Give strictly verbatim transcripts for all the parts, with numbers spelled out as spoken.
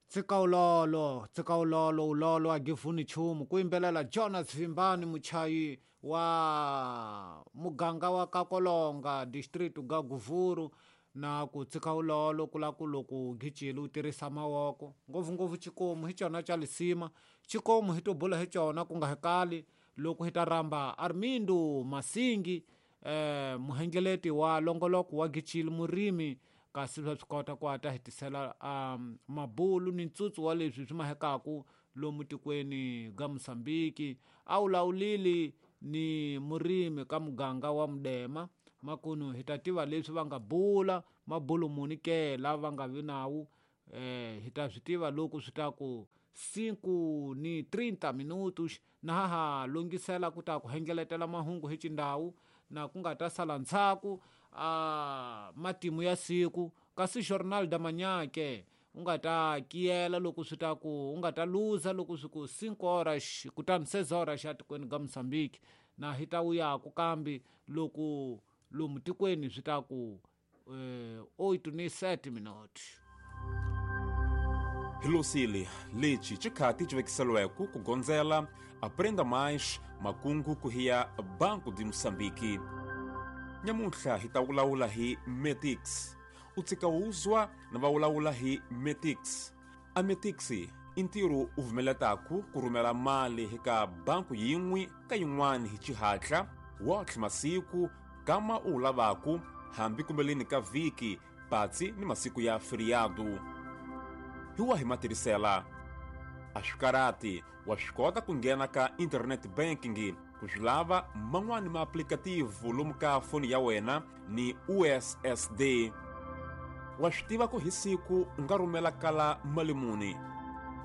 Tsika ulolo, tsika ulolo, ulolo a gifuni chumu. Ku yimbelela Jonas Vimbani, muchayi wa muganga wa Kakolonga, district ga Guvuru. Na ku tsika ulolo kula ku loko gicile u tirhisa mavoko ngopfungopfu xikomu hi cona xa lisima. Xikomu hi to bula hi cona ku nga hekali loko hi ta rhamba Armindo Masingi, eh, muhengeleti wa longoloko wa gicile, murimi, kasi swa swi kota ku a ta hi tisela um, mabulu ni ntsutsu wa leswi swi mahekaku lomu tikweni ga Mosambiki. A wulawulile ni murimi ka muganga wa Mudema. Makunu hi ta tiva leswi va nga bula mabulu muni ke lava va nga vi nawu, eh, hi ta swi tiva loko swi ta ku cinco ni trinta minutos. Na ha ha lunghisela ku ta ku hengeletela mahungu hi xindhawu na ku nga ta sala ndzhaku a matimu ya siku. Kasi Jornal da Manhã ke u nga ta kiyela loko swi ta ku u nga ta luza loko swi ku cinco horas kutani seis horas xa tikweni ga Mozambique. Na hi ta vuyaku kambe loko lomu tikweni swi ta ku eh, oito ni sete minutos. Hilosile lexi xikhati xi vekiseliweke ku gondzela Aprenda Mais makungu ku hiya Banco de Moçambique. Nyamuntlha hi ta vulavula hi Metix. U tshika wuzwa na va vulavula hi Metix. A Metix i ntirho u vumeletaku ku rhumela mali eka banku yin'we ka yin'wana hi xihatla wotlhe masiku kama u wu lavaku hambi kumbeleni ka vhiki patsi ni masiku ya feriado. Hi wahi matirhisela? A swi karhati, wa swi kota ku nghena ka internet banking ku swi lava man'wani maaplikativu lomu ka foni ya wena ni U S S D. Wa swi tiva ku hi siku u nga rhumela kala mali muni?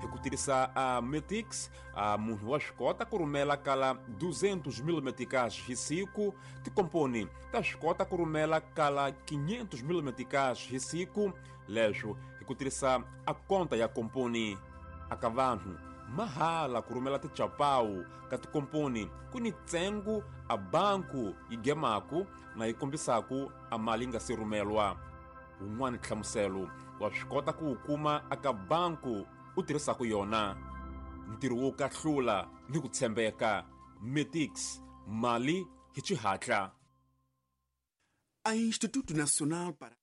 Hi ku tirhisa a Metix, a munhu wa swi kota ku rhumela kala duzentos mil meticais hi siku, tikomponi ta swi kota ku rhumela kala quinhentos mil meticais hi siku, leswo hi ku tirhisa a konta ya komponi. Aka vanhu mahala ku rhumela tichapawu ka tikomponi ku ni ntsengo a banku yi gemaku na yi kombisaku a mali yi nga se rhumelwa. Wun'wani nhlamuselo wa swi kota ku wu kuma aka banku u tirhisaku yona. Ntirho wo kahlula ni ku tshembeka. Metix, mali hi xihatla. A Instituto Nacional para